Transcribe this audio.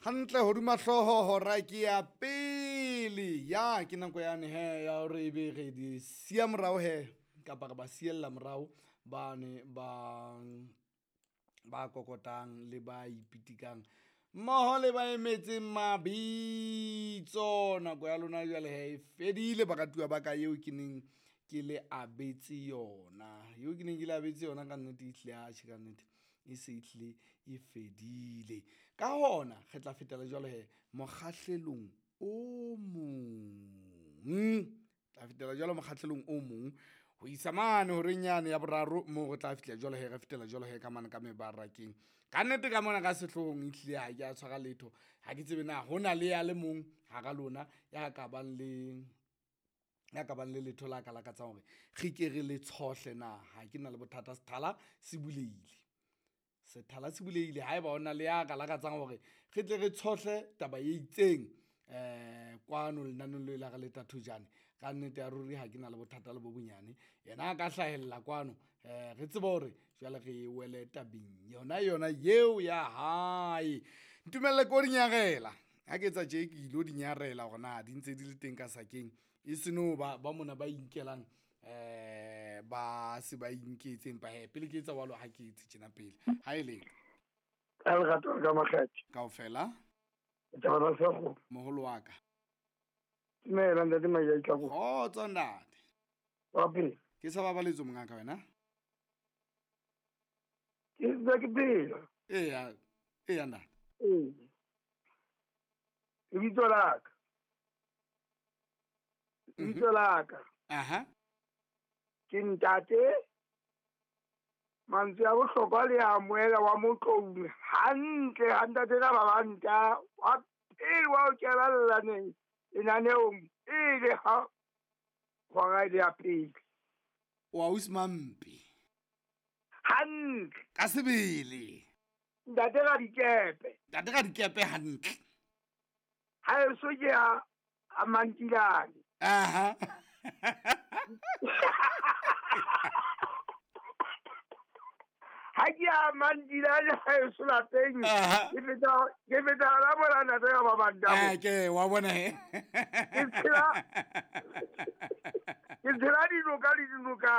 Hantle hodima hlooho hora ke ya pele. Ya ke nako yane he ya hore ebe re di siya morao he kapa re ba siella morao bane ba ba kokotang le ba ipitikang mmoho le ba emetseng mabitso. Nako ya lona jwale he e fedile baratuwa ba ka eo ke neng ke le abetse yona. Eo ke neng ke le abetse yona ka nnete ehlile atjhe ka nnete e se ehlile e fedile. Ka hona re tla fetela jwale he mokgahlelong o mong. Tla fetela jwalo mokgahlelong o mong ho isa mane horeng yane ya boraro moo re tla fihla jwale he re fetela jwale he ka mane ka mebarakeng. Ka nnete ka mona ka sehloohong ehlile ha ke a tshwara letho. Ha ke tsebe na hona le ya le mong hara lona ya ka bang le ya ka bang le letho la ka lakatsang hore re ke re le tshohle na. Ha ke na le bothata, sethala se bulehile. Sethala se bulehile haeba hona le ya ka lakatsang hore re tle re tshohle taba e itseng kwano lenaneong leo la re le thojane. Ka nnete ya ruri ha ke na le bothata le bo bonyane. Yena a ka hlahella kwano re tsebe hore jwale re wele tabeng yona yona yeo ya hae. Ntumelle ko di nyarela, ha ke etsa tje ke ilo di nyarela hore na di ntse di le teng ka sakeng e se no ba ba mona ba inkelang ba se ba inketse. Empa hee pele ke etsa jwalo, ha ke etse tjena pele ha e le Ka lerato ka makgethe. Kaofela. Taba tsa sekgowa. Moholo wa ka. Dumela ntate Majai Tlako. Kgotso ntate. Wa pele. Ke sa babaletso mongaka wena? Ke ntse ke phela. Eya, eya ntate. Ee. Lebitso la ka. Lebitso la ka. Aha. Ke ntate mantswe a bohlokwa le a moela wa Motloung hantle ha ntate ka ba banta wa pele wa ho kenella lenaneong pele ha hora e le ya pele. O ausi Mampe. Hantle. Ka sebele. Ntate Radikepe. Ntate Radikepe hantle. Ha eso ke a Mantilane. Aha. Ha ke a Mantilane ha eso lapeng. Ke feta hona mona ntate ka ba banta. Ah, ke wa bona he. Ke tshela dinoka le dinoka.